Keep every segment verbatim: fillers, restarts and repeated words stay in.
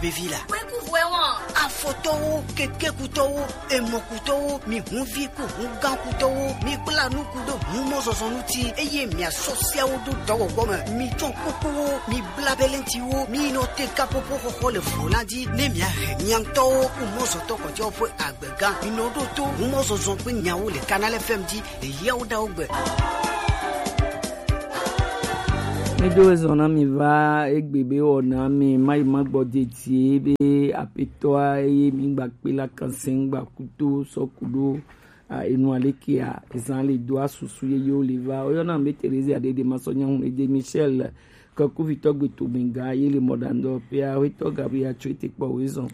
Vevi la. Kpekuvɔe wɔn. Afɔtɔwo, kekekutɔwo, emɔkutɔwo, mi hunvi ku hungãkutɔwo, mi kpla nuku ɖo humɔzɔzɔ ŋuti, eye miasɔ siawo ɖo dɔwɔwɔ me. Mi tsɔ kukuwo, mi bla belentiwo, mi nɔ te kapopo xɔxɔ le vo la dzi, ne miahe mia ŋutɔwo ku mɔzɔtɔ kɔtɔwo ƒe agbega. Mi nɔ ɖo to humɔzɔzɔ ƒe nyawo le Canal F M dzi. Eyawo ɖawo gbe. Miɖo ezɔ na mi va egbe be wɔna mi mayi magbɔ dedie be apetɔa eye mi gba kpe la kanse gba kuto sɔ ku ɖo a enu alekea ezan le do asusu ye yo le va oyɔna be Terezia ɖeɖe masɔ nyahun ede Michel ke kuvitɔ gbe to mi ga ye le mɔɖandɔ pea wetɔ Gabriel tso ete kpɔ wezɔn.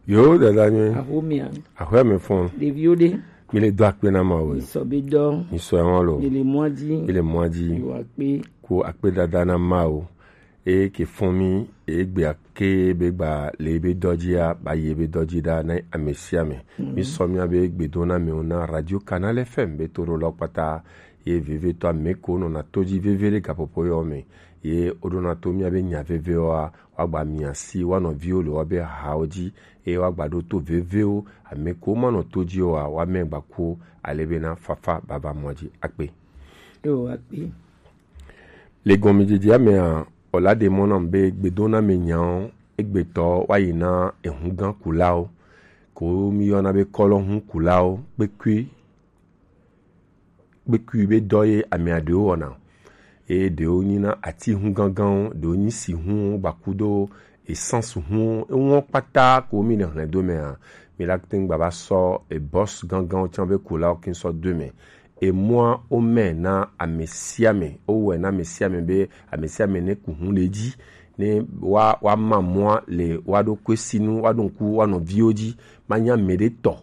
Yo dada nyuie. Axomia. Axɔe me fɔn. Ɖeviwo ɖe. Mi le do akpe na Mawu. Mi sɔ be dɔ. Mi sɔ ɛhɔn lo. Mi le mɔa dzi. Mi le mɔa dzi. Yo akpe. Ko akpe dada na Mawu. Eye ke fɔn mi eye gbe ake be gba le be dɔ dzia ba ye be dɔ dzi ɖa na ame sia ame. Mi sɔ mia be gbedo na mi na Radio Canal F M be to ɖo lɔ kpata. Ye vevitɔ ame ko nɔna to dzi veve ɖe gaƒoƒo yɔ me. Ye woɖona to mia be nya vevewoa woagba mia si woa nɔviwo le woabe hawo dzi eye woagba ɖo to vevewo ame ko manɔ to dzi oa woame gbakuwo ale bena fafa baba mɔ dzi akpe. Yo akpe. Le gɔmedzedzea mea, wòla ɖe mɔ nam be gbedoname nyawo egbetɔ woayi na ehugã kulawo ko mi yɔna be kɔlɔhu kulawo kpekui kpekui be dɔ ye amea ɖewo wɔna. Eye ɖewo nyina ati hu gãgãwo, ɖewo nyi si hu gbakudo essence hu eŋuwo kpata ko mi le hlẽ do mea, mi la te ŋu gba va sɔ ebɔs gãgãwo tsã be kulawo kin sɔ do me. Emɔa wo mɛ na ame sia ame, wo wɔe na ame sia ame be ame sia ame ne ku hu le edzi, ne wa wa ma mɔa le wa ɖo kue sinu, wa ɖo ŋku wa nɔviwo dzi, ma nya ame ɖe tɔ.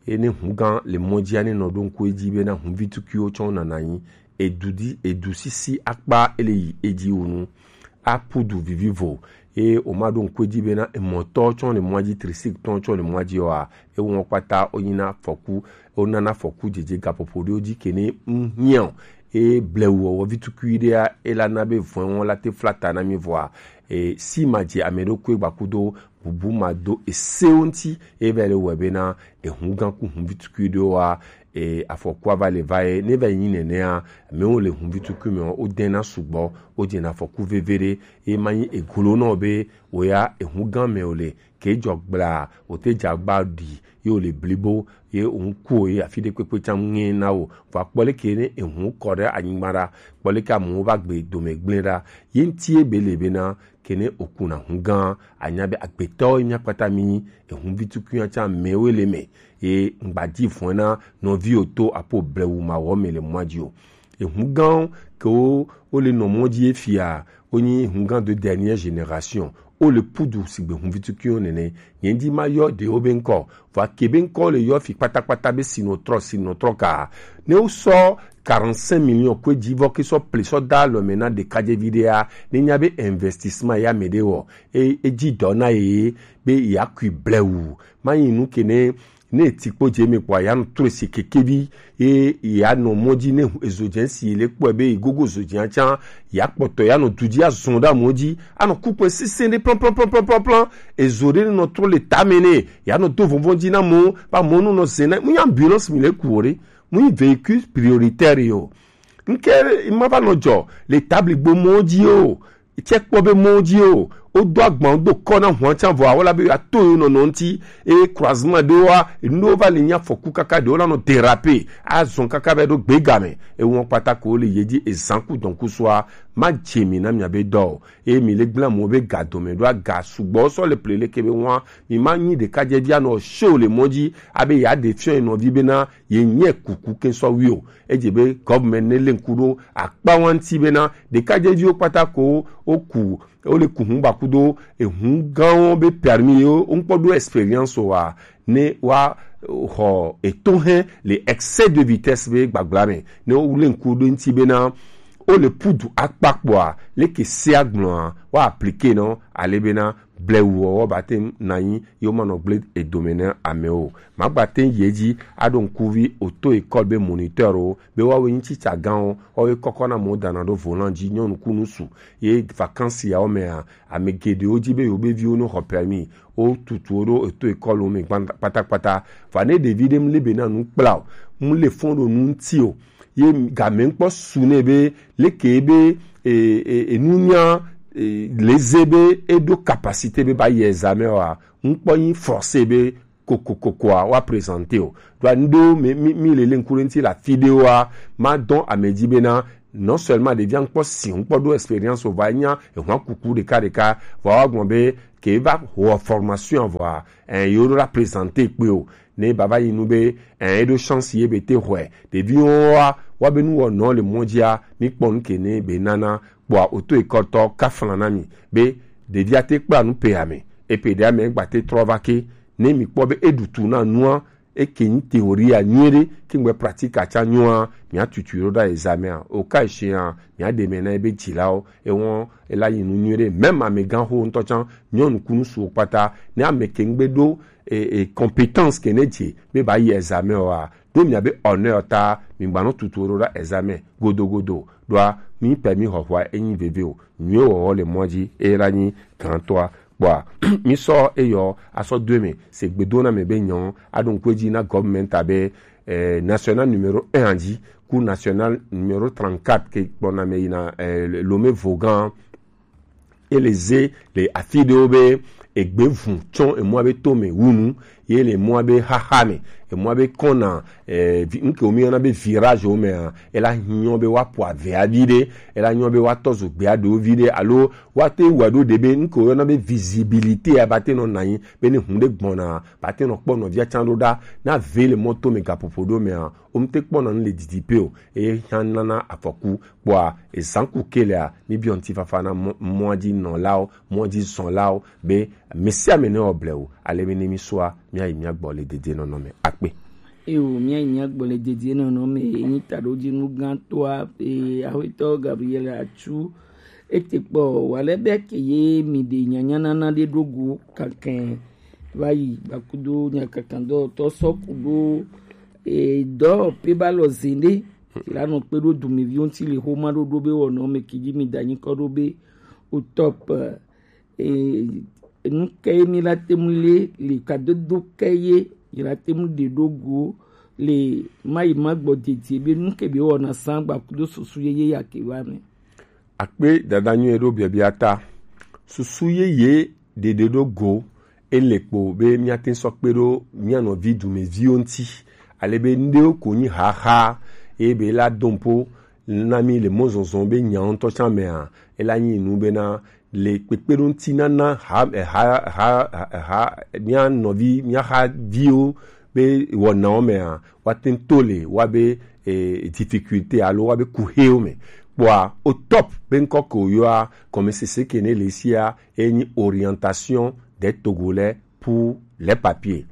Eye ne hugã le mɔ dzia, ne nɔ ɖo ŋku edzi bena huvi tukuiwo tsɔ nana anyi edu di edu sisi akpa ele yi edzi wu nu. Apu du vivivo. Eye woma ɖo ŋku edzi bena emɔtɔ tsɔ le mɔa dzi, trisik tɔ tsɔ le mɔa dzi oa, ewɔ kpata wonyina afɔku, wonana afɔku dzedze gaƒoƒo ɖewo dzi ke ne ŋu hiã o. Eye blewu wɔwɔ vi tukui ɖea, ela na be vɔ̃e wɔn la te fla ta na mi vɔa, e, si ma dze ame ɖokui gbakudo bubu ma do esewo ŋuti, eye va le wɔe bena ehu gã ku huvi tukui ɖewoa, e, afɔkua va le va ye, ne va yi nyi nenea, amewo le huvi tukui me, wo dena sugbɔ, wo dzena afɔku veve ɖe, eye ma nyi eglo nɔ be, wo ya ehu gã me wo le, ke dzɔ gbla, wo te dza gba ɖi, ye wo le blibo, ye wo ŋku wo ye afi ɖe kpekpe tsã ŋe na wo, vɔ akpɔ leke ne ehu kɔ ɖe anyigba ɖa, kpɔ leke amewo va gbe dome gblẽ ɖa, ye ŋuti ye be le bena, ke ne wòkuna hu gã, anya be agbetɔwo ye mía kpata mí nyi, ehuvi tukunya tsã amewoe le eme, ye ŋgba di vɔ̃e na nɔviwo to apo blewu mawɔ me le mɔa dzi o. Ehu gãwo ke wo, wo le nɔ mɔ dzi ye fia, wo nyi ehu gã de dernière génération, wo le pudu sigbe huvi tukuiwo nene. Nye ŋdi ma yɔ ɖewo be ŋkɔ, vɔ ake be ŋkɔ le yɔ fi kpatakpata be sinɔtrɔ, sinɔtrɔ ka. Ne wo sɔ quarante-cinq millions kue dzi vɔ ke sɔ ple sɔ da alɔ me na ɖekadzevi ɖea, ne nya be investissement ya me ɖe wɔ, e, e dzi dɔ na ye, be ya kui blewu. Ma yi nu ke ne, ne ti kpo dze me kpɔ ya nu trɔ si kekevi, ye ya nɔ mɔ dzi ne ezo dze si le kpɔ be gogo zo dze tsã, ya kpɔtɔ ya nɔ du dzi azɔn ɖe mɔ dzi, anɔ kukpe sese ɖe plan, plan, plan, plan, plan, plan, ezo ɖe nɔ trɔ le tame ne, ya nɔ do vɔnvɔn dzi na mɔ, ba mɔ nu nɔ ze na, mu nya ambulance mi le ku o ɖe, mu yi véhicule prioritaire yo. Nke ma va nɔ dzɔ le tabli gbo mɔ dzi o, tsɛ kpɔ be mɔ dzi o, o do agban do kɔ na hɔn tsa vɔ, awo la be ya to yo nɔ nɔ ŋti, e croisement ɖewoa, enu ɖewo va le nya fɔku kaka ɖewo la nɔ déraper, azɔn kaka va ɖo gbega me, ewɔ kpata ko le ye dzi ezan ku dɔn ku sua, ma dze mi na mia be dɔ o, e mi le gbla mo be ga dome ɖo aga sugbɔ sɔ le ple leke be ŋua, mi ma nyi ɖekadzevi anɔ show le mɔ dzi, abe ya ɖe fiɔ nɔvi bena, ye nyɛ kuku ke sɔ wi o. Edze be gɔvmɛnt ne le ŋku ɖo akpa wa ŋti bena ɖekadzeviwo kpata ko wo ku, wo le ku hu gbakudo ehu gãwo be permis yewo wo ŋkpɔ ɖo experience o wa ne wa xɔ etohɛ le excès de vitesse be gbagbla me ne wo le ŋku ɖo ŋti bena Wo le pudu akpa kpɔa, leke se agblɔa, wa appliquer nɔ, ale bena blewu wɔwɔ ba te na nyi, yo ma nɔ gble edome ne ame o. Ma gba te yi edzi aɖo ŋkuvi auto école be moniteur o, be woawoe nyi tsitsa gãwo, woawoe kɔkɔ na amewo dana ɖo volant dzi, nyɔnu ku ŋutsu. Ye vacances yawo mea, ame geɖewo di be yewo be viwo no xɔ permis, wo tutu wo ɖo auto école me gban-, kpatakpata. Vɔ ne ɖevi ɖe mu le be na nu kpla o, mu le fɔn ɖo nu ŋuti o, ye game ŋkpɔ su nɛ be leke be e, e, e, nunya e, le ze be e ɖo capacité be ba yi examen wa, ŋkpɔ nyi forcé be kokokokoa wa présenter o. Ɖo anu ɖewo mi, mi, mi le le ŋku ɖe ŋuti le afi ɖewoa, ma dɔn ame dzi bena non seulement ɖevia ŋkpɔ si, ŋkpɔ ɖo expérience o, va nya ehwa kuku ɖeka ɖeka, va wa gbɔn be ke va wɔ formation vɔa, eh, yewo ɖo la présenter kpe o. Ne baba yi nu be, eh, eɖo chance ye be te xɔe. Ɖeviwo wa, wa be nu wɔ nɔ le mɔ dzia, mi kpɔ nu ke ne be nana kpɔa auto école tɔ ka flan na mi be ɖevia te kpla nu pe ame, e pe ɖe ame gba te trɔ va ke, ne mi kpɔ be e ɖu tu na nua, e ke nyi théorie a nyuie ɖe, ke ŋgbe pratique a tsa nyɔa, mia tutu ɖo ɖa examen a, o ka eshia, mia ɖe me na ebe dzilawo, e wɔn e la yi nu nyuie ɖe, même amegã xo ŋutɔ tsa, nyɔnu ku ŋutsuwo kpata, ne ame ke ŋgbe ɖo e, e, compétence ke ne dze be ba yi examen wa, ɖo mia be honneur ta, mi gba nɔ tutu ɖo ɖa examen godogodo, ɖoa mi permis xɔxɔa e nyi veve o, nyuie wɔwɔ le mɔ dzi e la nyi gãtɔa. Kpɔa, mi sɔ eyɔ asɔ do eme se gbedo na me be nyɔ aɖo ŋku edzi na government abe, eh, national numéro un a dzi ku national numéro trente-quatre ke kpɔna me yina, eh, Lomé Vaughan. Ele ze le afi ɖewo be egbe vu tsɔ emɔa be to me wu nu, ye le emɔa be xaxa me, emɔa be kɔna, eh, vi-, nuke wo mi yɔna be virage wo mea, ela hiɔ be wa po avea vi ɖe, ela hiɔ be wa tɔ zo gbea ɖewo vi ɖe, alo wa te wa ɖo ɖe be nuke wo yɔna be visibilité a ba te nɔ na anyi, be ne hun ɖe gbɔna, ba te nɔ kpɔ nɔvia tsa ɖo ɖa, na ve le mɔto me gaƒoƒo ɖo mea, wo mi te kpɔna nu le didi pe o, eye hã nana afɔku. Kpɔa, ezan ku ke lea, mi biɔ ŋutifafa na mɔ-, mɔa dzi nɔlawo, mɔa dzi zɔnlawo be, ame sia ame ne wɔ blewu, ale be ne mi sɔa, mia yi mia gbɔ le dedienɔnɔ me. Akpe. Eyo, mia yi mia gbɔ le dedienɔnɔ me, enyi taɖodzinu gãtɔa, e, Axwetɔ Gabriel Atsu, ete kpɔ, wale be ke ye mi ɖe nyanyanana ɖe ɖo go kakɛ va yi gbakudo nyakakandɔtɔ sɔ ku ɖo, e, dɔ pe ba lɔ zin ɖe, ti la nɔ kpe ɖo dumeviwo ŋuti le xoma ɖoɖo be wɔnɔ me ke dzi mi da nyikɔ ɖo be o top, e, nu ke ye mi la te mu le, le kadodo ke ye, yi la te mu ɖe ɖo go le mayi ma gbɔ dedie be nu ke be wɔna san gbakudo susu ye ye ya ke va me. Akpe dada nyuie ɖo biabia ta. Susu yeye ɖeɖe ɖo go, ele kpo be miate sɔ kpe ɖo mia nɔvi dumeviwo ŋuti, ale be nuɖewo ko nyi xaxa, eye be la do ŋpo na mi le mɔzɔzɔ be nya ŋutɔ tsã mea, ela nyi nu bena le kpekpeɖoŋutinana ha, ha, ha, ha, mia nɔvi, mia xaviwo be wɔnawo mea, woate ŋu to le woabe, eh, difficulté alo woabe kuxewo me. Kpɔa, o top be ŋkɔ ke wòyɔa, gɔmesese ke ne le esia, enyi orientation des Togolais pour les papiers.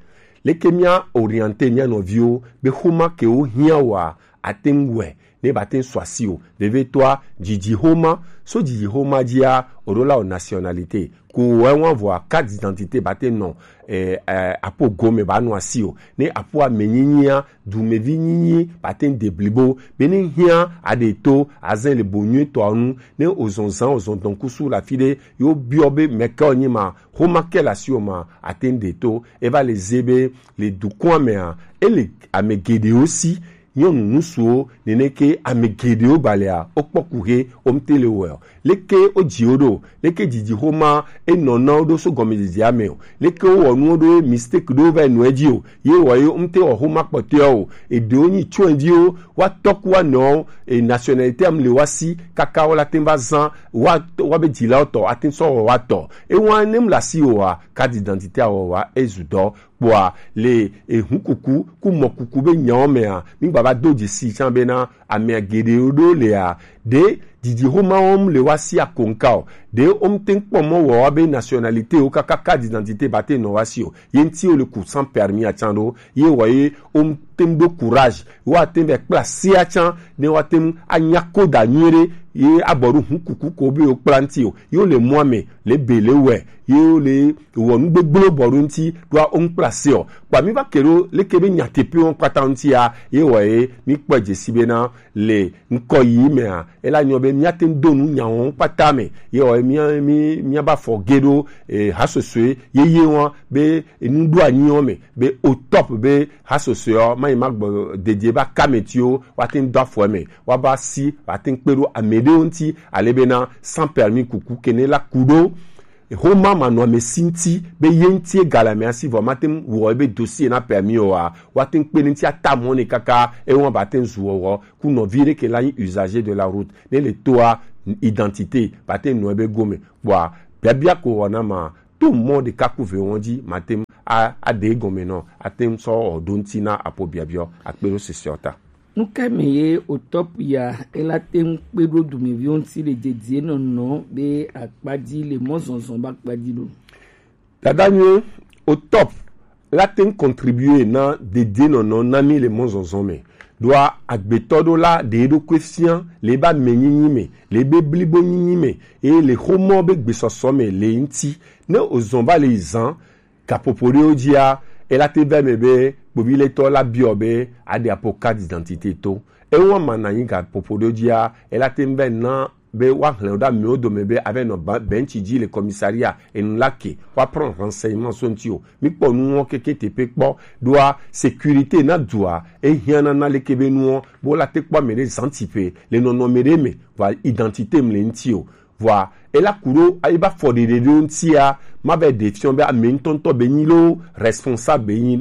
Leke mia orienter mia nɔviwo be xoma ke wohiã woa, ate ŋu wɔe ne ba te ŋu sɔ asi o. Vevitɔa, dzidzi xoma, so dzidzi xoma dzia, o ɖo la o nationalité. Ko wɔ ewa vɔa, carte d'identité ba te nɔ, eh, eh, apo gome ba nɔ asi o. Ne apo ame nyinyia, dumevi nyinyi ba te ŋu de blibo. Be ne hiã aɖe to, azẽ le bo nyuie tɔa nu, ne ozɔn zã, ozɔn dɔnkusu le afi ɖe, yo biɔ be mɛkɛ o nyi ma, xoma ke le asi o ma, ate ŋu de to. Eva le ze be le dukɔa mea, ele ame geɖewo si, nyɔnu ŋutsuwo, neneke ame geɖewo balea, wokpɔ kuxe, womte le wɔe o. Leke wodzi wo ɖo? Leke dzidzi xoma enɔ na wo ɖo so gɔmedzedzea me o? Leke wowɔ nuwo ɖo ye mistake ɖewo va yi nɔ edzi o? Ye wɔ ye womte wɔ xoma kpɔtɔewo o. Eɖewo nyi tsoeviwo, woatɔ ku woanɔwo, e nationalité am le woa si, kaka wola te va zã, woa, woabe dzilawo tɔ, ate sɔ wɔ woatɔ. Ewa ne mu le asi o wa, carte d'identité a wɔ wa, ezu dɔ. Kpɔa le ehunkuku ku mɔkuku be nyawo mea, mi gbava do dzesi tsã bena amea geɖewo ɖo lea, ɖe Didi xoma wɔm le wa si akonka o. Ɖe wo ŋte kpɔ mɔ wɔ wa be nationalité wo kaka carte d'identité ba te nɔ wa si o. Ye ŋti wo le ku sans permis atsan ɖo. Ye wɔ ye wo ŋte ɖo courage. Wa te vɛ kpla se atsan ne wa te anya ko da nyuie ɖe. Ye abɔ ɖo hun kuku ko be wo kpla ŋti o. Ye wo le mɔ ame le be le wɛ. Ye wo le wɔ nu gbegblẽ bɔ ɖo ŋti ɖo wo ŋkpla se o. Kpa mi va ke ɖo leke be nyateƒe wɔn kpata ŋti ya. Ye wɔ ye mi kpɔ dze si be na le ŋkɔ yi mea, ela nyɔ be míate ŋu do nu nya wɔn kpata me. Ye wɔ mía mí míaba fɔ ge ɖo e, hasosoe yeye wɔn be enu ɖo anyi wɔn me be au top be hasosoe ɔ mayi ma gbɔ dedie ba kametiwo woate ŋu do afɔ me woaba si woate ŋu kpe ɖo ame ɖewo ŋuti ale bena sans permis kuku kene la ku ɖo. Xoma manɔamesi ŋuti be ye ŋuti ega le amea si vɔ mate ŋu wɔ ebe dossier na permis oa, woate ŋu kpe ɖe ŋuti ata mɔ nɛ kaka eye woaba te ŋu zu wɔwɔ ku nɔvi ɖe ke la nyi usager de la route ne le toa identité ba te ŋu nɔ ebe gome kpɔa biabia ko wɔna ma to mɔ ɖeka ku ve wɔn dzi mate ŋu a- aɖe egɔme nɔ ate ŋu sɔ wɔ ɖo ŋuti na apo biabiɔ akpe ɖo sisiɔ ta. Nu ka me ye au top ya ela te ŋu kpe ɖo dumeviwo ŋuti le dedie nɔnɔ be akpa dzi le mɔzɔzɔ be akpa dzi ɖo? Dada nyuie, au top la te ŋu contribuer na dedie nɔnɔ na mi le mɔzɔzɔ me. Ɖoa agbetɔ ɖo la ɖe eɖokui fia le ebe ame nyinyi me, le ebe blibo nyinyi me, eye le xomɔ be gbesɔsɔ me le ŋuti. Ne ozɔn va le yi zan, gaƒoƒo ɖewo dzia, ela te va eme be kpoviletɔ la biɔ be aɖe apo carte d'identité to. Ewa ma na nyi gaƒoƒo ɖewo dzia, ela te va na be woaxlẽ wo ɖe amewo dome be ava nɔ ba- bench dzi le commissariat enu la ke woaprend renseignement so ŋuti o. Mikpɔ nuwo keke teƒe kpɔ ɖoa sécurité na dua ehiã nana leke be nuwo be wola te kpɔ ame ɖe zantiƒe le nɔnɔme ɖe me vɔa identité me le ŋuti o. Vɔa ela ku ɖo ebe afɔɖeɖe ɖewo ŋutia, mava ɖe fiɔ be ame ŋutɔŋutɔ be nyi loo, responsable be nyi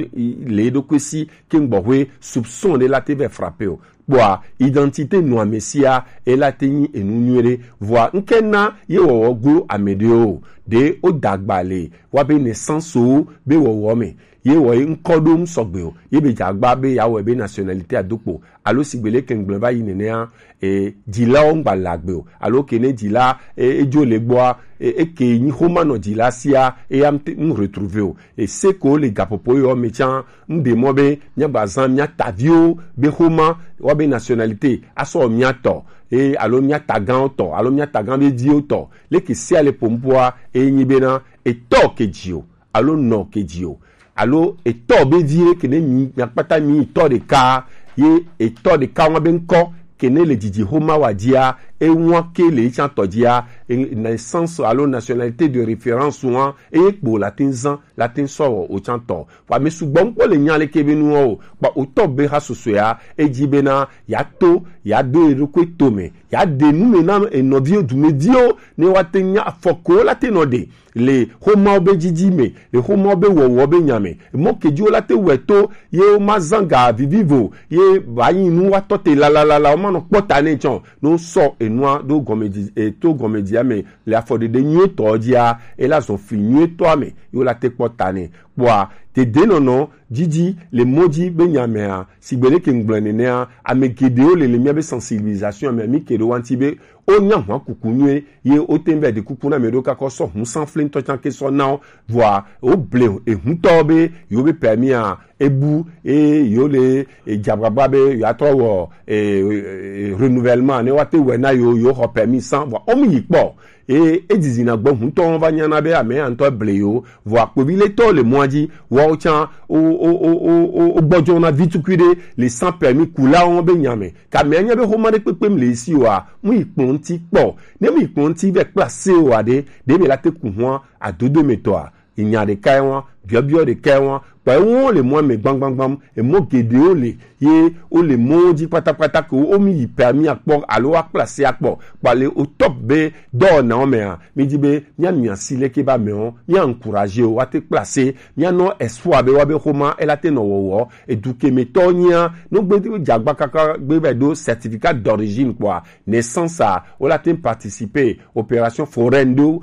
le eɖokui si ke ŋgbɔxwe soupçon ɖe la te va frappe o. Kpɔa identité nɔ ame sia ela te nyi enu nyuie ɖe. Vɔa ŋke na ye wɔwɔ glo ame ɖewo o. Ɖe wo da agba le wa be naissance wo be wɔwɔ me. Ye wɔ ye ŋkɔ ɖo ŋu sɔgbe o. Ye be dze agba be yeawɔe be nationalité ado kpo. Alo sigbe leke ŋgblẽ va yi nenea, e, dzilawo ŋgba le agbe o. Alo ke ne dzila, e, edzo le gbɔa, e, eke nyi xoma nɔ dzila sia, eya ŋte ŋ retrouver o. E, se ko le gaƒoƒo yɔ me tsã, ŋ ɖe mɔ be míagba zã mía taviwo be xoma, wa be nationalité, asɔ mía tɔ, e, alo mía tagawo tɔ, alo mía tagawo be viwo tɔ. Leke sia le ƒom ƒoa, e nyi bena, etɔ ke dzi o, alo nɔ ke dzi o, alo etɔ be vi ɖe ke ne mi miakpata mi yi tɔ ɖeka ye etɔ ɖeka wa be ŋkɔ ke ne le dzidzi xoma wa dzia ewa ke le etsã tɔ dzia e- naissance alo nationalité de référence wa eye kpo la te zan la te sɔ wɔ otsã tɔ. Wa mi sugbɔ ŋkpɔ le nya leke be nuwo o kpa otɔ be ha sosoea edzi bena ya to ya do eɖokui to me ya de nu me na enɔviwo dumeviwo ne wa te nya afɔko la te nɔ de le xomawo be dzidzi me, le xomawo be wɔwɔ be nya me. Mɔ kedziwo la te wɔe to ye wo ma zã ga vivivo ye ba nyi nu wa tɔ te lalalala wo ma nɔ kpɔ ta ne tsɔ no sɔ enua ɖo gɔmedzi e to gɔmedzia me le afɔɖeɖe nyuietɔ dzia e la zɔ fli nyuietɔa me ye wo la te kpɔ ta ne. Kpɔa dedenɔnɔ dzidzi le mɔ dzi be nya mea sigbe ɖe ke ŋgblɔe nenea ame geɖewo le le míabe sensibilisation me mi ke ɖo wa ŋuti be wonya hwa kuku nyuie ye wote ŋu va ɖi kuku na ame ɖewo kakɔ sɔ ŋusã fli ŋutɔ tsã ke sɔ na wo vɔa woble ehuntɔwo be yewo be permis a ebu eye yewo le edze agbagba be yewoatrɔ wɔ e, e, renouvellement ne woate wɔe na yewo yewo xɔ permis sans vɔa womu yi kpɔ eye edzizina gbɔ huntɔwo va nyana be ame ya ŋutɔ ble yewo vɔa kpoviletɔwo le mɔa dzi woawo tsã wo- wo- wo- wo- wo- wogbɔdzɔna vi tukui ɖe le sans permis kulawo be nya me. Ke amea nya be xoma ɖe kpekpem le esi oa, mu yi kplɔ ŋuti kpɔ. Ne mu yi kplɔ ŋuti vɛ kpla se oa ɖe, ɖe be la te ku hua adodo me tɔa. Enya ɖeka ye wa, biɔbiɔ ɖeka ye wa. Kpa ewo le mɔ me gbamgbamgbam, emɔ geɖewo le ye wo le mɔwo dzi kpatakpata ke wo mi yi permis akpɔ alo wa kpla se akpɔ. Kpa le o top be dɔwɔnawo mea, mi di be mia mia si leke ba mewo, mia encourager wo, wa te kpla se, mia nɔ espoir be wa be xoma ela te nɔ wɔwɔ, edu ke me tɔ nyia, no gbe dze agba kaka gbe va do certificat d'origine kpɔa, naissance a, wo la te participer opération foraine ɖewo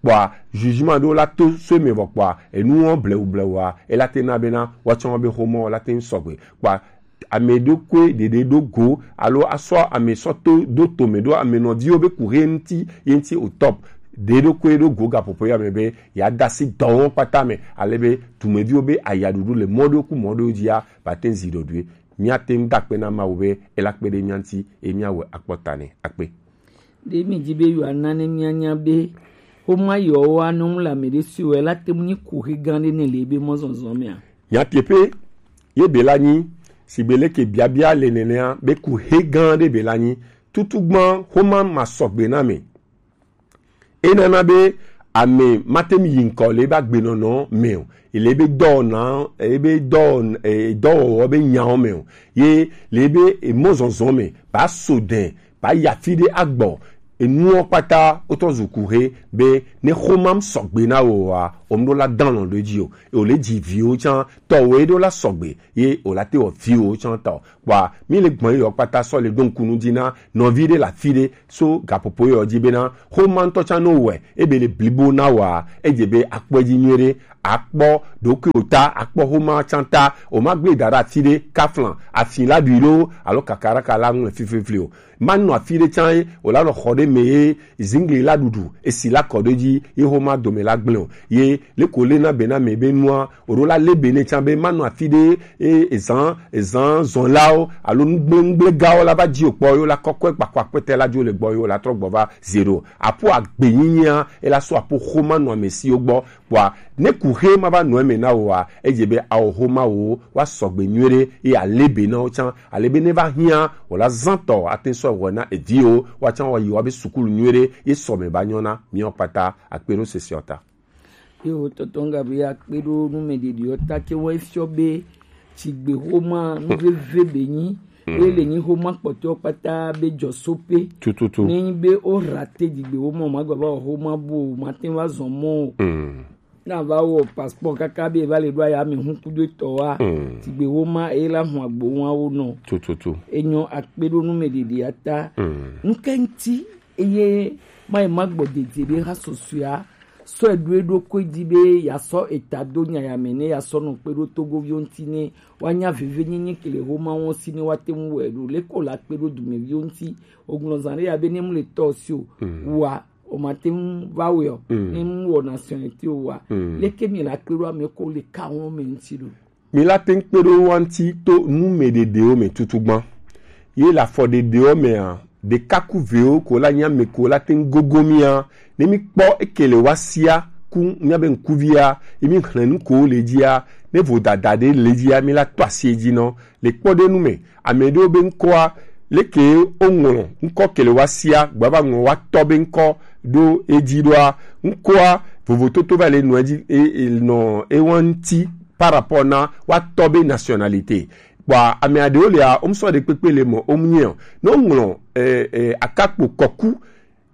kpɔa, jugement ɖewo la to so me vɔ kpɔa, enuwo blewu blewua, ela te na bena, wa tsɔ be xoma wo la te sɔgbe kpɔa, ame ɖokui ɖeɖe ɖo go alo asɔ ame sɔ to ɖo tome ɖo ame nɔviwo be kuhe ŋuti ye ŋuti o top ɖe ɖokui ɖo go gaƒoƒo ya me be ya da asi dɔwo kpata me ale be dumeviwo be ayaɖuɖu le mɔ ɖewo ku mɔ ɖewo dzi ya ba te ŋu zi ɖoɖoe. Míate ŋu da akpe na Mawu be ela kpe ɖe mía ŋuti eye míawɔe akpɔ ta nɛ. Akpe. Ɖe mi di be yewoana ne míanya be xoma yewoa nɔ ŋu le ame ɖe si o, ela te ŋu nyi kuxi gã ɖe nɛ le ebe mɔzɔzɔ mea? Nyateƒe ye be la nyi sigbe leke biabia le nenea be kuxi gã ɖe be la nyi. Tutugbã xoma ma sɔgbe na me. Enana be ame mate ŋu yi ŋkɔ le ebe agbenɔnɔ me o, le ebe dɔwɔna, ebe dɔwɔ, eh, dɔwɔwɔ be nyawo me o, ye le ebe emɔzɔzɔ me ba so dɛ ba yi afi ɖe agbɔ. Enuwo kpata wotrɔ zu kuxe be ne xomam sɔgbe na wò oa, wòm ɖo la dã alɔ̃ ɖe edzi o. Eye wòle dzi viwo tsã, tɔwòe ɖo la sɔgbe, ye wòla te wɔ viwo tsã tɔ. Kpɔa, mi le gbɔn yɔ kpata sɔ le ɖo ŋku nu dzi na nɔvi ɖe le afi ɖe so gaƒoƒo yɔ dzi bena xoma ŋutɔ tsã no wɔe, ebe le blibo na wòa, edze be akpɔe dzi nyuie ɖe, akpɔ ɖokuiwò ta, akpɔ xoma tsã ta, wòmagblẽ da ɖe afi ɖe, kafla, afi la ɖui loo, alo kakaraka la ŋu le fiflifli o. Manɔ afi ɖe tsã ye wòla nɔ xɔ ɖe me ye zingli la ɖuɖu, esi la kɔ ɖe dzi ye xoma dome la gblẽ o. Ye leko le na be na me be nua, wòɖo la le be ne tsã be manɔ afi ɖe ye ezan, ezan zɔnlawo alo nugblẽnugblẽgawo la va dzi o kpɔ ye wòla kɔkɔe kpakɔ akpɛtɛ la dzo le gbɔ ye wòla trɔ gbɔ va zero. Apo agbenyinyia, ela so apo xoma nɔ ame siwo gbɔ. Kpɔa, ne kuxe ma va nɔ eme na wòa, edze be awɔ xoma wo wa sɔgbe nyuie ɖe, ye ale be na wo tsã, ale be ne va hiã, wòla zã tɔ ate sɔ wɔe na eviwo, wa tsã wa yi wa be sukulu nyuie ɖe, ye sɔ me ba nyɔ na miɔ kpata. Akpe ɖo sese ɔta. Yo, tɔtɔ nga be akpe ɖo nu me ɖeɖi ɔta ke wɔ efiɔ be tsigbe xoma nu veve be nyi, eye le nyi xoma kpɔtɔ kpata be jɔ so pe. Tututu. Ne nyi be o rate dzigbe xoma o, ma gba va wɔ xoma bo o, ma te va zɔn mɔ o. Na va wɔ passport kaka be va le ɖo aya me hu kudo etɔ wa. Dzigbe xoma e la hu agbo wa wo nɔ. Tututu. Enyɔ akpe ɖo nu me ɖeɖi ata. Nuke ŋuti eye ma yi ma gbɔ dede be ha susua sɔ eɖo eɖokui dzi be ya sɔ eta do nya ya me ne ya sɔ nɔ kpe ɖo togoviwo ŋuti ne wa nya veve nyenye ke le xoma wo si ne wa te ŋu wɔe ɖo. Leke o la kpe ɖo dumeviwo ŋuti? O gblɔ zã ɖe ya be ne mu le tɔ si o wa o ma te ŋu va wɔe o, ne mu wɔ nationalité o wa. Leke mi la kpe ɖo ame ko le ka wo me ŋuti ɖo? Mi la te ŋu kpe ɖo wo ŋuti to nu me ɖeɖewo me tutugbã. Ye le afɔ ɖeɖewo mea, ɖekakuviwo ko la nya me ko la te ŋu gogo mia. Ne mi kpɔ eke le wa sia ku mia be ŋkuvia, ye mi hlẽ nu ko le dzia, ne vodada ɖe le dzia, mi la to asi edzi nɔ. Le kpɔ ɖe nu me, ame ɖewo be ŋkɔa, leke wo ŋlɔ ŋkɔ ke le wa sia, gba va ŋlɔ wa tɔ be ŋkɔ ɖo edzi ɖoa, ŋkɔa vovototo va le nɔ edzi, e, e, nɔ ewa ŋuti par rapport na wa tɔ be nationalité. Kpɔa, ame aɖewo lia, wo ŋsɔ ɖe kpekpe le mɔ, wo ŋnyɛ o. Ne wo ŋlɔ, e, e, akakpo kɔku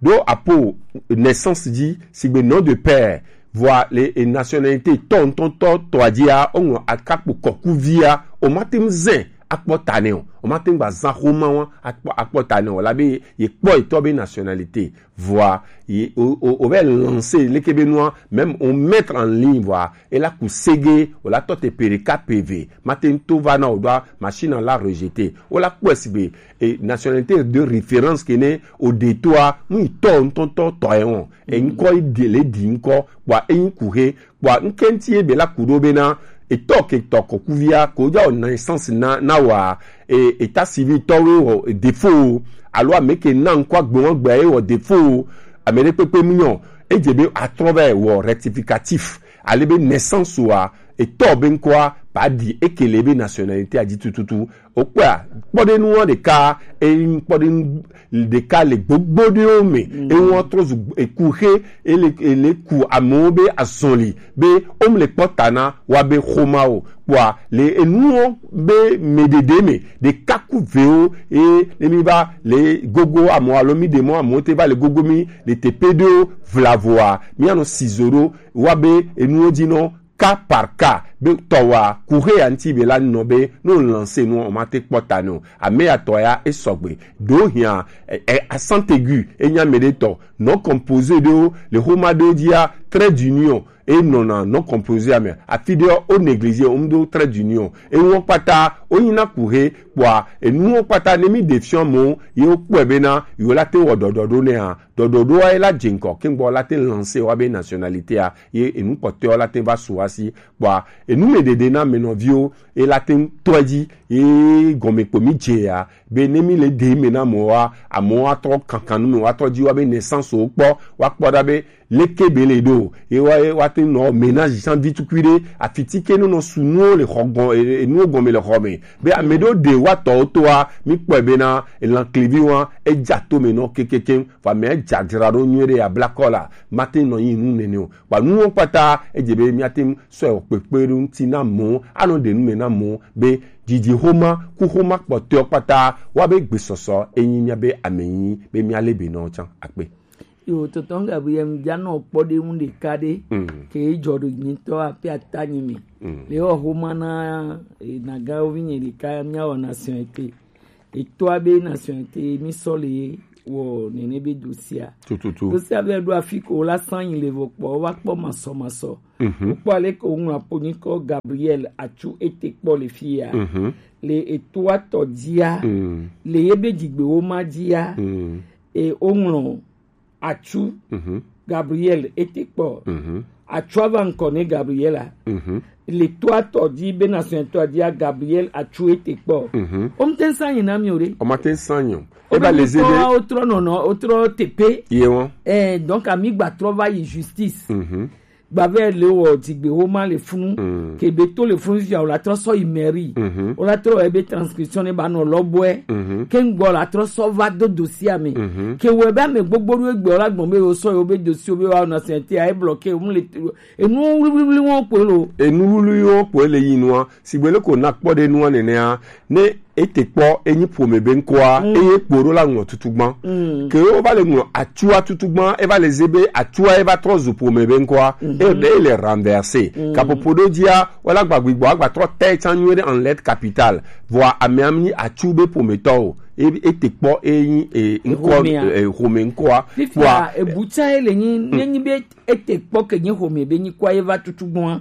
ɖo apo naissance dzi, sigbe nom de père, vɔa le, e, nationalité tɔ ŋutɔŋutɔ tɔa dzia, wo ŋlɔ akakpo kɔku via, o ma te ŋu zɛ akpɔ ta nɛ o, o ma te ŋu gba zã xoma wa akpɔ, akpɔ ta nɛ o, la be ye kpɔ etɔ be nationalité. Vɔa, ye, o, o, o va lancer leke be nua, même o mettre en ligne, vɔa, e la ku sege, o la tɔ te pe ɖeka pe eve, ma te ŋu to va na o ɖoa, machine la rejeter. O la kpɔe sigbe, e, nationalité de référence ke ne o ɖe toa, nu yi tɔ ŋutɔŋutɔ tɔ ye wɔn. E ŋkɔ yi ɖi le ɖi ŋkɔ, kpɔa e nyi kuxe, kpɔa ŋke ŋuti ye be la ku ɖo be na, etɔ ke tɔ kɔkuvia, ko ja o naissance na, na wa, e, état civil tɔ we wɔ défaut, alo ame ke na ŋkɔ agbe wɔn gbe ye wɔ défaut, ame ɖe kpekpe mu nyɔ, edze be atrɔ va wɔ rectificatif, ale be naissance wa, etɔ be ŋkɔa, ba ɖi eke le be nationalité a dzi tututu. Okpɔa, kpɔɖenuwo ɖeka, eyi kpɔɖenu ɖeka le gbogbo ɖewo me. Ewo trɔ zu ekuxe, ele, ele ku amewo be azɔli, be wom le kpɔ ta na wa be xoma o. Kpɔa, le enuwo be me ɖeɖe me, ɖeka ku vewo, e, ne mi va le gogo amewo alo mi ɖe mɔ amewo te va le gogo mi le teƒe ɖewo vlavoa, mi anɔ si zo ɖo, wa be enuwo dzi nɔ cas par cas, Be tɔwa kuhe ya ŋti be la nɔ be no lancer nu o ma te kpɔ ta nɔ. Ame ya tɔ ya e sɔgbe. Do hia e, e asante gu e nya me de tɔ. Non composé de o le homa de o dia trait d'union. E nɔna non composé ame. Afi de o négliger o do trait d'union. E won kpata o nyina kuhe kpɔa enu won kpata ne mi de fiɔ mo ye o kpɔe be na yo la te wɔ dɔdɔ do ne a. Dɔdɔ do a ye la je ŋkɔ ke ŋgbɔ la te lancer wa be nationalité a. Ye enu kpɔtɔe la te va su asi kpɔa enu me dede na me nɔviwo e la te tɔ dzi ye gɔme kpo mi je ya be ne mi le de me na mo wa amo wa tɔ kankan nu me wa tɔ dzi wa be naissance o kpɔ wa kpɔ da be leke be le do ye wa ye wa te nɔ ménage san vi tukui de afiti ke no nɔ su nuwo le xɔ gɔn e- enuwo gɔme le xɔ me be ame do de wa tɔ to wa mi kpɔe be na elan klevi wa e ja to me nɔ kekeke fa me e ja dzra do nyuie de ya bla kɔ la ma te nɔ yi nu nene o. Kpa nuwo kpata edze be míate ŋu sɔe wɔ kpekpe ɖo ŋuti na mɔ anɔ ɖe nu me na mɔ be dzidzi xoma ku xoma kpɔtɔewo kpata wa be gbesɔsɔ enyi mía be ame nyi be mía le be nɔ tsã akpe. Yo, tonton Gabriel, mi ja nɔ kpɔ ɖe ŋu ɖeka ɖe ke jɔ ɖo nyitɔ afi ata nyi mi le wɔ xoma na e, nagawo vi nye ɖeka mía wɔ nationalité. Etoa be nationalité mi sɔ le wɔ nene be dosia. Tututu. Dosia be ɖo afi ko la san yi le vɔ kpɔ wa kpɔ masɔ masɔ. Kpɔ ale ko ŋlɔ apo nyi kɔ Gabriel Atsu ete kpɔ le fia. Le etoa tɔ dia. Le ye be dzigbewo ma dia. E o ŋlɔ Atsu Gabriel ete kpɔ. Atsua va ŋkɔ ne Gabriela. Le toa tɔ di be na sɔn toa dia Gabriel Atsu ete kpɔ. O mte sa nyi na mi o re. O ma te sa nyi o. O ba le ze be o trɔ nɔnɔ o trɔ tepe. Ye wɔn. Eh, donc ami gba trɔ va yi justice. Gba vɛ le wɔ dzigbe wo ma le funu. Ke be to le funu fia o la trɔ sɔ yi mairie. O la trɔ ebe transcription ne ba nɔ lɔ bɔɛ. Ke ŋgbɔ la trɔ sɔ va do dossier me. Ke wɔ ebe ame gbogbo ɖo egbe o la gbɔn be o sɔ yi o be dossier o be wa na sɛnte a e bloqué o mu le enu wluwluwlu wɔn kpe lo. Enu wluwluwlu wɔn kpe le yi nua. Sigbe le ko na kpɔ ɖe nua nenea ne ete kpɔ enyi ƒome be ŋkɔa eye kpo ɖo la ŋlɔ tutugbã. Ke wo va le ŋlɔ atsua tutugbã e va le ze be atsua e va trɔ zu ƒome be ŋkɔa e be le renversé. Kapopo ɖo dzia wala gba gbigbɔ agba trɔ tɛ tsa nyuie ɖe en lettre capitale. Vɔa amea mi atsu be ƒometɔ o. E- ete kpɔ enyi e ŋkɔ Ƒomea. E- ƒome ŋkɔa. Fifia ebu tsa ele nyi nenyi be ete kpɔ ke nye xɔme be nyi kɔ ye va tutu gbɔa.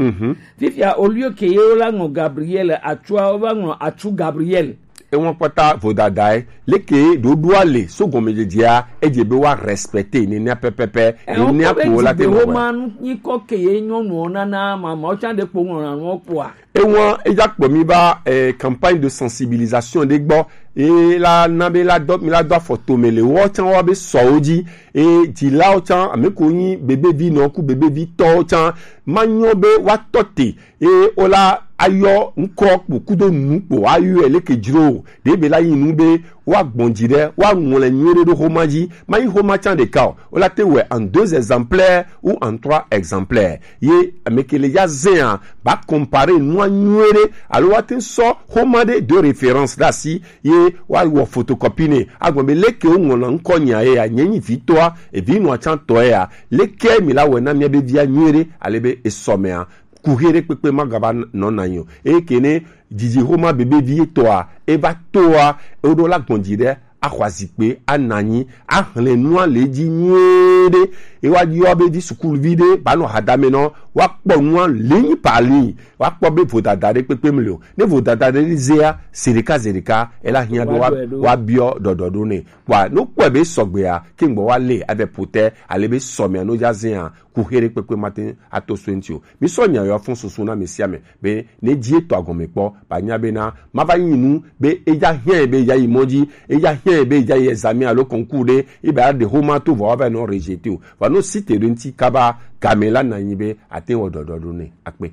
Fifia au lieu ke ye wo la ŋlɔ Gabriel atsua wo va ŋlɔ atsu Gabriel. Ewọn kpata vodadae leke ɖoɖoa le so gɔmedzedzea edze be wa respecte nenia pɛpɛpɛ nenia ko la te wɔ. Wo ma nu nyi kɔ ke ye nyɔnuɔ nana mama wo tsa ɖe kpo ŋlɔ na nuɔ kpoa. Ewan eya kpɔ mi ba eh, campagne de sensibilisation ɖe gbɔ. E la na be la dɔ mi la dɔ afɔ tome le wɔ tsã wɔ be sɔwo dzi. E dzilawo tsã ame ko nyi bebevi nɔ ku bebevi tɔwo tsã ma nyɔ be wa tɔ te. E o la ayɔ ŋkɔ kpo kudo nu kpo ayɔ e leke dzro o ɖe be la yi nu be wa gbɔn dzi ɖe wa ŋlɛ nyuie ɖe ɖo xoma dzi ma yi xoma tsã ɖeka o. Wo la te wɛ en deux exemplaires ou en trois exemplaires. Ye ame ke le ya zɛa ba comparer nua nyuie ɖe alo wa te sɔ xoma ɖe de référence ɖe asi ye wa wɔ photocopie ne agbɔn be leke wo ŋlɔna ŋkɔ nya ye ya nye nyi vitɔa evi nua tsã tɔ ye ya leke mi la wɛ na mia be via nyuie ɖe ale be esɔ mea kuhe ɖe kpekpe ma gaba nɔ na nyi o eye ke ne dzidzi xoma bebe vi etɔa eva toa eɖo la gbɔn dzi ɖe axɔ azikpe ana anyi axlẽ nua le edzi nyuie ɖe. Ye wa yɔ be vi sukuluvi ɖe ba nɔ hadame nɔ wa kpɔ nua ligne par ligne wa kpɔ be vodada ɖe kpekpe mli o ne vodada ɖe zea zeɖeka zeɖeka ela hiã be wa biɔ ɖɔɖɔ ɖo nɛ kpɔa ne kpɔe be sɔgbea ke ŋgbɔ wa le avɛ potɛ ale be sɔmea no dza zea kuxe ɖe kpekpe mate ato so eŋti o. Mi sɔ nya yɔ fún susu na mi sia mi be ne dzi etɔ agɔme kpɔ ba nya be na ma va nyi nu be eya hiã be eya yi mɔ dzi eya hiã be eya yi examen alo concours ɖe ebe aɖe xoma to vɔ ava nɔ rejeté o va nɔ site ɖe ŋti kaba game la na nyi be ate wɔ dɔdɔ ɖo ne akpe.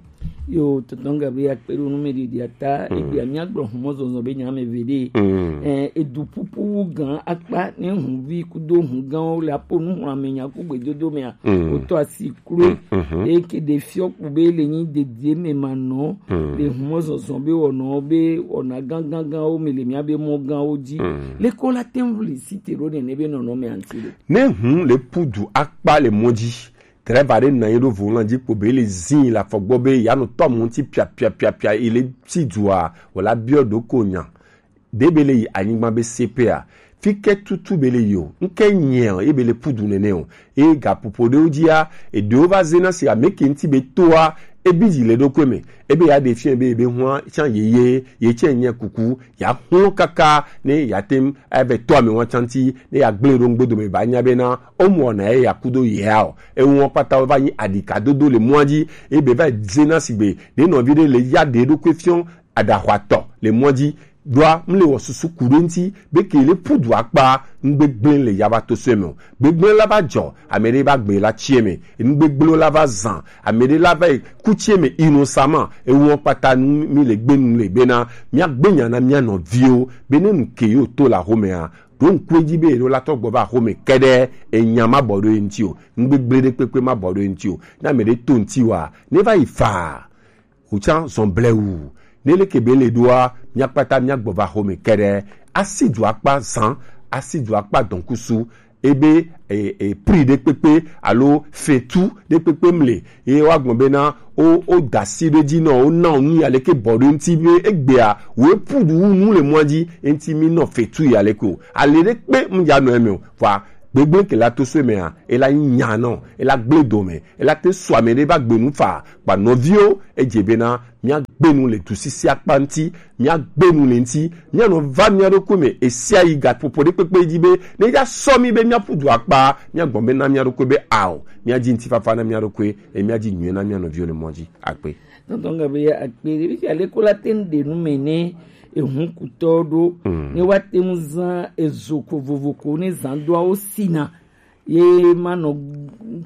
Yo, tonton Gabriel akpe ɖo nu mi ɖiɖi ata egbe mi agblɔ humɔ zɔzɔ be nya me ve ɖe. Eh, edu pupu wu gan akpa ne huvi kudo hu ganwo le apo nu hlame nya ku gbedodo mea. Wotɔ asi kloe eye ke ɖe fiɔ kpo be le nyi dedie me ma nɔ le humɔ zɔzɔ be wɔnɔ be wɔna ganganganwo me le mia be mɔ ganwo dzi. Leke wo la te ŋu le site ɖo nene be nɔnɔ me anti le. Ne hu le pudu akpa le mɔ dzi Drɛva ɖe nɔ anyi ɖo volan ji kpo be ele zin le afɔ gbɔ be yeanɔ tɔ mɔ ŋuti pia pia pia pia, ele si dua, wòla biɔ ɖo ko nya ɖe be le yi anyigba be sepe a. Fi ke tutu be le yi o, ŋke nyɛ o, ebe le pudu nene o. E gaƒoƒo ɖewo dzia, eɖewo va zena si ame ke ŋuti be toa, ebi dzi le ɖokui me. Ebe ya ɖe fiɛ be ebe hua tsã yeye, ye tsɛ nyɛ kuku, ya hlɔ̃ kaka ne ya tem eve tɔ ame wa tsã ŋuti, ne ya gblẽ ɖo ŋgbedo me ba nya be na o mɔ na ye ya kudo ya o. Ewo kpata va nyi aɖikadodo le mɔa dzi, ebe va zena si be ɖe nɔvi ɖe le ya ɖe ɖokui fiɔ aɖaxɔatɔ le mɔ dzi, ɖoa mle wɔ susu ku ɖe ŋuti be ke le pudu akpa ŋgbegblẽ le ya va to sɔe me o. Gbegblẽ la va dzɔ, ame ɖe va gbe la tsie me, ŋgbegblẽ la va zan, ame ɖe la va yi ku tsie me innocemment, ewɔ kpata nu mi le gbe nu le bena mia gbe nya na mia nɔviwo be ne nu ke yo to la xomea, ɖo ŋku edzi be ɖo la tɔ gbɔ va xome kɛɖɛ, enya ma bɔ ɖo ye ŋuti o, ŋgbegblẽ ɖe kpekpe ma bɔ ɖo ye ŋuti o. Na ame ɖe to ŋuti wa, ne va yi faa. Wòtsã zɔn blewu. Ne leke be le ɖoa, mia kpata mia gbɔ va xome kɛɖɛ. Asi du akpa zan, asi du akpa dɔnkusu. Ebe e, e, pri ɖe kpekpe alo fetu ɖe kpekpe mle. Ye wa gbɔn bena o, o dasi ɖe dzi nɔ, o na o nu ya leke bɔ ɖe ŋuti be egbea, wo epu du nu le mɔa dzi, enti mi nɔ fetu ya leke o. Ale ɖe kpe mu ya nɔ eme o. Vɔa, gbegblẽ ke la to so emea, ela nyi nya nɔ, ela gblẽ dome, ela te sɔ ame ɖe va gbe nu fa, kpa nɔviwo, edze bena, mia gbe nu le dusisi akpa ŋuti, mia gbe nu le ŋuti, mia nɔ va mia ɖokui me, esia yi gaƒoƒo ɖe kpekpe dzi be, ne ya sɔ mi be mia ƒu du akpa, mia gbɔn be na mia ɖokui be ao, mia dzi ŋutifafa na mia ɖokui, e mia dzi nyuie na mia nɔviwo le mɔ dzi. Akpe. Tɔntɔn Gabriel, akpe ɖe fia le ko la te ŋu ɖe nu me ne ehun kutɔ ɖo, ne wa te ŋu zan ezo ko vovo ko ne zan doawo sina. Ye ma nɔ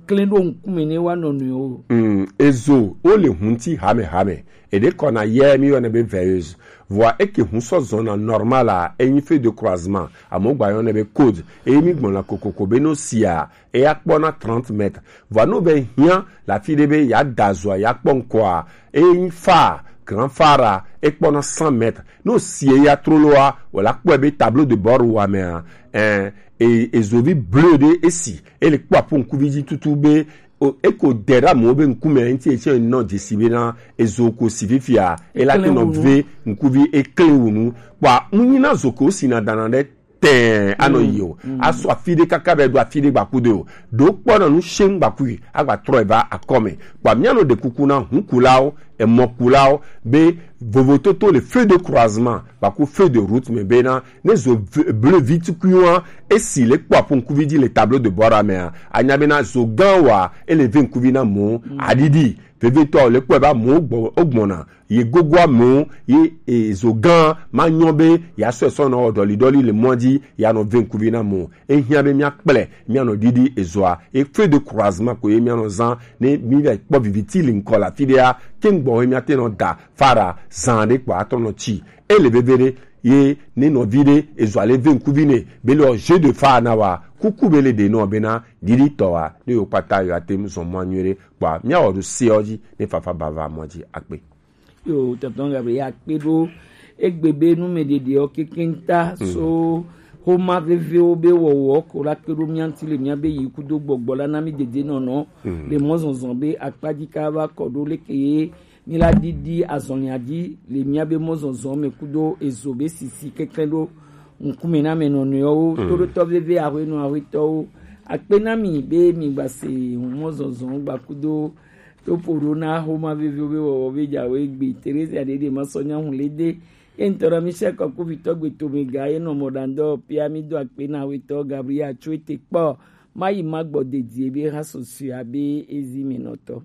klẽ ɖo ŋkume ne wa nɔ nɔewo. Mm, ezo, wo le hun ti hame hame. Eɖe kɔna yɛ mi yɔnɛ be veilleuse. Vɔa eke hun sɔ zɔna normal a, enyi feu de croisement. Amewo gba yɔnɛ be code. Eye mi gbɔna kokoko be no sia, eya kpɔna trente mètres. Vɔa no be hiã la fi ɖe be ya da zoa, ya kpɔ ŋkɔa, enyi fa, grand phare a, ekpɔna cent mètres. No si eya troloa, wòla kpɔe be tableau de bord wa mea, eh, e, ezovi bleu ɖe esi, ele kpɔ aƒo ŋkuvi dzi tutu be, o, eko de ɖe amewo be ŋkume ŋuti etsɛ nɔ dzesi be na ezo ko si fifia, ela te nɔ ve ŋkuvi ekle wu nu. Kpɔa, ŋu nyi na zo ko si na dana ɖe tɛɛ anɔ yi o. Asɔ afi ɖe kaka be ɖo afi ɖe gbaku de o. Ɖo kpɔ na nu sheŋ gbaku yi, agba trɔ eva akɔme. Kpɔa, mía nɔ ɖe kuku na hunkulawo, emɔkulawo, be vovototo le feu de croisement, gbaku feu de route me bena, ne zo v-, bleu vitukuiwa, esi le kpɔ aƒo ŋkuvi dzi le tableau de bord mea, anya bena zo gã wa, ele ve ŋkuvi na mo, aɖiɖi, vevetɔ le kpɔe va mo gbɔ, ogbɔna, ye gogo amewo, ye, e, zo gã, ma nyɔ be, ya sɔe sɔ nɔ wɔ ɖɔli ɖɔli le mɔ dzi, ya nɔ ve ŋkuvi na mo. Ehiã be mía kplɛ, mía nɔ ɖiɖi ezoa. E feu de croisement ko ye mía nɔ zã, ne mí va kpɔ viviti le ŋkɔ le afi ɖea, ke ŋgbɔ he mía te nɔ da fara zã ɖe kpɔ atɔ nɔ tsi. Ele veve ɖe, ye ne nɔvi ɖe, ezoa le ve ŋkuvi ne, be le ɔ jeu de phare na wa, kuku be le ɖe nɔ bena, ɖiɖi tɔ wa, ne yo kpata yo ate ŋu zɔn mɔ nyuie ɖe, kpɔa, mía wɔ ɖo se ɔ dzi, ne fafa ba va mɔ dzi akpe. Yo, tɔntɔn Gabriel, akpe ɖo egbe be nu me ɖeɖe ɔ kekeŋ ta so xoma vevewo be wɔwɔ ko la kpe ɖo mía ŋuti le mía be yi kudo gbɔgbɔ la na mí dede nɔnɔ le mɔ zɔzɔ be akpa dzi ka va kɔ ɖo leke ye mí la ɖiɖi azɔlia dzi le mía be mɔ zɔzɔ me kudo ezo be sisi keklẽ ɖo ŋkume na me nɔnɔewo toɖotɔ veve ahwenɔ ahwetɔwo. Akpe na mi be mi gba se mɔ zɔzɔ gba kudo To ƒo ɖo na xoma veviwo be wɔwɔ be dzawo egbe. Teresia ɖeɖe ma sɔ nya hu le de. Ye ŋutɔ na mi sia kɔ kuvitɔ gbe to mi ga ye nɔ mɔ ɖandɔ pia mi do akpe na wetɔ Gabriel tso ete kpɔ. Ma yi ma gbɔ dedie be ha susua be ezi mi nɔtɔ.